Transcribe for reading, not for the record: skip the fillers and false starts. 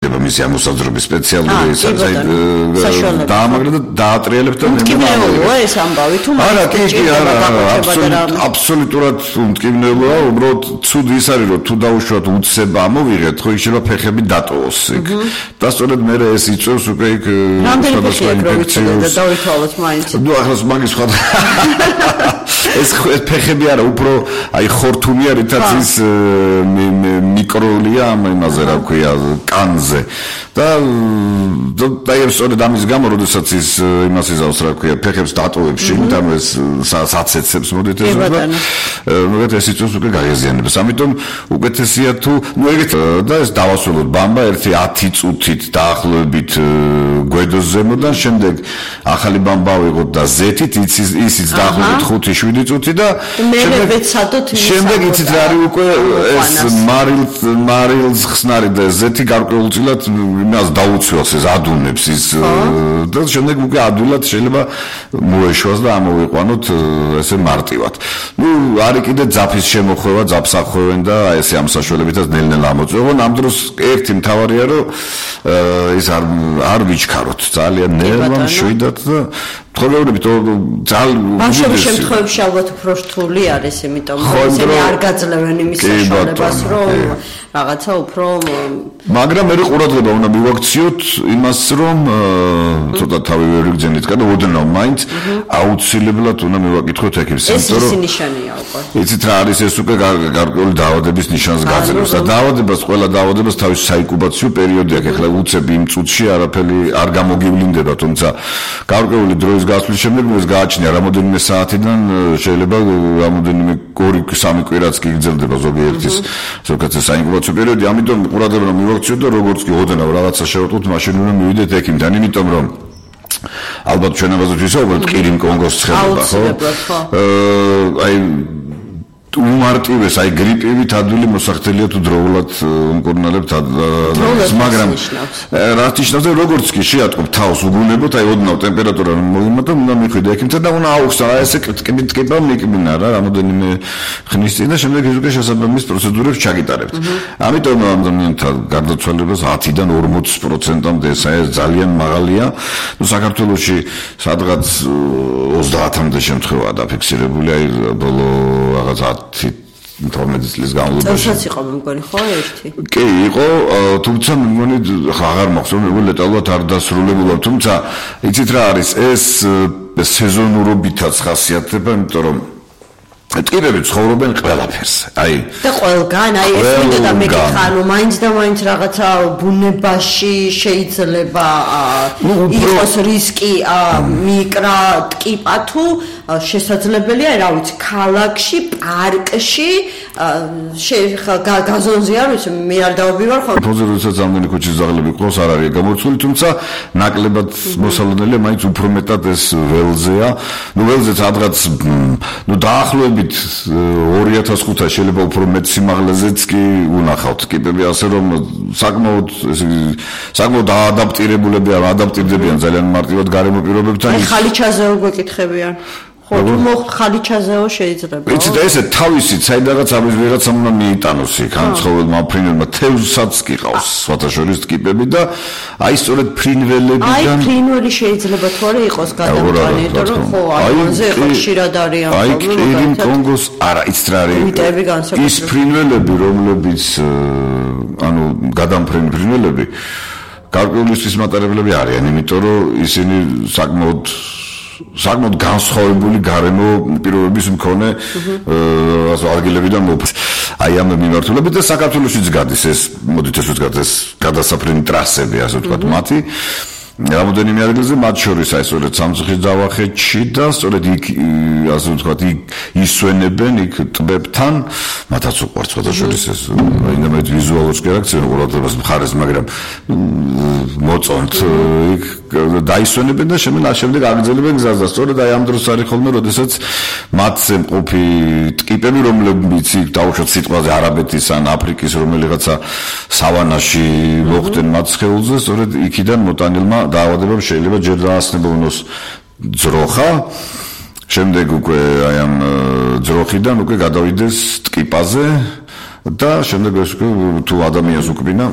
მისი ამოსაზრობის სპეციალური დაამაგრა და დაატრიალებთ და მტკივნეულოა ეს ამბავი თუ არა აბსოლუტურად მტკივნეულოა უბრალოდ ცუდი ის არის რომ თუ დაუშვათ უცება ამოვიღეთ ხო იქ შეიძლება ფეხები დატოვოს იქ და სწორედ მე ეს იწევს უკვე იქ სხვადასხვა ინფექციებს დავითვალოთ მაინც ნუ ახლა მაგის სხვა ეს ფეხები არა უფრო აი ხორთუმია რითაც ის მიკროლია იმაზე რა ქვია კანზე და სწორედ ამის გამო როდესაც ის იმას იზავს რა ქვია ფეხებს დატოვებს შიგნით ანუ ეს საცეცებს მოდით ეს მოგეთ ეს იწევს უკვე გაიზიანებს ამიტომ უკეთესია თუ ნუ ეგეთ და ეს დავასრულოთ ბამბა ერთი 10 წუთით დაახლოებით გვედოს ზემოდან შემდეგ ახალი ბამბა ვიღოთ და ზეთით ისიც დაახლოებით 5-7 წუთი და შემდეგ იცით რა არის უკვე ეს მარილს ხსნარი და ზეთი გარკვეულწილად იმას დაუცველს ეს ადუნებს ის და შემდეგ უკვე ადვილად შეიძლება მოეშვას და ამოვიყვანოთ ესე მარტივად. ნუ არის კიდე ძაფის შემოხვევა, ძაფს ახვევენ და ესე ამ საშუალებითაც ნელ-ნელა ამოწევენ. ამ დროს ერთი მთავარია რომ ის არ ვიჩქაროთ ძალიან ნელა მშვიდად და თხოვეურებით ბავშვების შემთხვევებში ალბათ უფრო რთული არის იმიტომ რომ ისინი არ გაძლევენ იმის საშუალებას რომ რაღაცა უფრო მაგრამ მე ყურადღება უნდა მივაქციოთ იმას რომ ცოტა თავი ვერ ვიგზენით და ოდნავ მაინც აუცილებლად უნდა მივაკითხოთ ექიმს იმიტომ რომ ეს ნიშანია უკვე იცით რა არის ეს უკვე გარკვეული დაავადების ნიშანს გაძლევს და დაავადებას ყველა დაავადებას თავის საინკუბაციო პერიოდი აქვს ახლა უცებ იმ წუთში არაფერი არ გამოგივლინდება თუმცა გარკვეული დროის გასვლის შემდეგ ეს გააჩნია რამოდენიმე საათიდან შეიძლება რამოდენიმე 2-3 კვირაც კი გრძელდება ზოგიერთის ზოგადად საინკუბაციო პერიოდი ამიტომ ყურადღება რომ მივაქციოთ და როგორც კი ოდნავ რაღაცა შევატყოთ მაშინ უნდა მივიდეთ ექიმთან იმიტომ რომ ალბათ ჩვენ ამაზე ვისაუბრებთ ყირიმ კონგოს ცხელება ხო აი უმარტივეს აი გრიპივით ადვილი მოსახდელია თუ დროულად უმკურნალებთ მაგრამ რაც ნიშნავს და როგორც კი შეატყობ თავს უგუნებოთ აი ოდნავ ტემპერატურა მოვიმატო უნდა მიხვიდე ექიმთან და უნდა აუხსნა ესე კრიტიკება მიკმინა რა რამოდენიმე ხნის წინ და შემდეგ ის უკვე შესაბამის პროცედურებს ჩაგიტარებთ ამიტომ ადამიანთა გარდაცვალებას 10-დან 40%-მდე ეს ძალიან მაღალია ნუ საქართველოში სადღაც 30-მდე შემთხვევაა დაფიქსირებული აი ბოლო რაღაც 12 წლის განმავლობაში. წელსაც იყო მეგონი ხო ერთი? კი, იყო, თუმცა მეგონი აღარ მახსოვს, მეგონი ლეტალურად არ დასრულებულა, თუმცა იცით რა არის, ეს სეზონურობითაც ხასიათდება, იმიტომ რომ ტკიპები ცხოვრობენ ყველაფერს. აი და ყველგან, აი ეს მინდა და მეკითხა, ანუ მაინც და მაინც რაღაცა ბუნებაში შეიძლება იყოს რისკი მიკრა ტკიპა თუ შესაძლებელია, რა ვიცი, ქალაქში, პარკში, გაზონზე არ ვიცი, მე არ დავაბივარ ხოლმე. ფოზეროსაც ამდენი ქუჩის ზაღლები ყავს არ არის გამორჩული, თუმცა ნაკლებად მოსალოდნელია, მაინც უფრო მეტად ეს ველზეა. ნუ ველზეც ადღაც ნუ დაახლოებით 2005 შეიძლება უფრო მეტ სიმაღლეზეც კი უნახავთ ტკიპები, ასე რომ საკმაოდ ადაპტირდებიან ძალიან მარტივად გარემო პირობებთან. აი ხალიჩაზეო გვეკითხებიან. ხო, თუ მოხდ ხალიჩაზეო შეიძლება. იცით ესე თავისით საიდანაც ამის ვიღაცამ უნდა მიიტანოს იქ ან ცხოველმა ფრინველმა თევზსაც კი ყავს სხვათაშორის ტკიპები და აი სწორედ ფრინველებიდან აი ფრინველი შეიძლება თუ არა იყოს გადამწვანე, იმიტომ რომ ხო ამაზე ხშირად არის აი ყირიმ კონგოს არა იცით რა არის ის ფრინველები რომლებიც ანუ გადამფრენი ფრინველები გარკვეული ის მატარებლები არიან, იმიტომ რომ ისინი საკმაოდ განსხვავებული გარემო პირობების მქონე ადგილებიდან აი ამ მიმართულებით და საქართველოშიც გადის ეს მოდით ეს ვთქვათ ეს გადასაფრენი ტრასები ასე ვთქვათ მათი რამოდენიმე ადგილზე მათ შორის აი სწორედ სამცხის ჯავახეთში და სწორედ იქ ასე ვთქვათ იქ ისვენებენ იქ ტბებთან მათაც უყვართ სხვადასხვა ეს რაიმე ვიზუალურ რეაქციას ყურადღებას მხარეს მაგრამ მოწონთ იქ დაისვენებენ და შემდეგ აგრძელებენ გზას და სწორედ აი ამ დროს არის ხოლმე როდესაც მათზე მყოფი ტკიპები რომლებიც იქ დაუშვათ სიტყვაზე არაბეთის ან აფრიკის რომელიღაცა სავანაში მოხვდნენ მათ სხეულზე სწორედ იქიდან მოტანილმა დაავადებამ შეიძლება ჯერ დაასნებოვნოს ძროხა შემდეგ უკვე აი ამ ძროხიდან უკვე გადავიდეს ტკიპაზე და შემდეგ ეს თუ ადამიანს უკბინა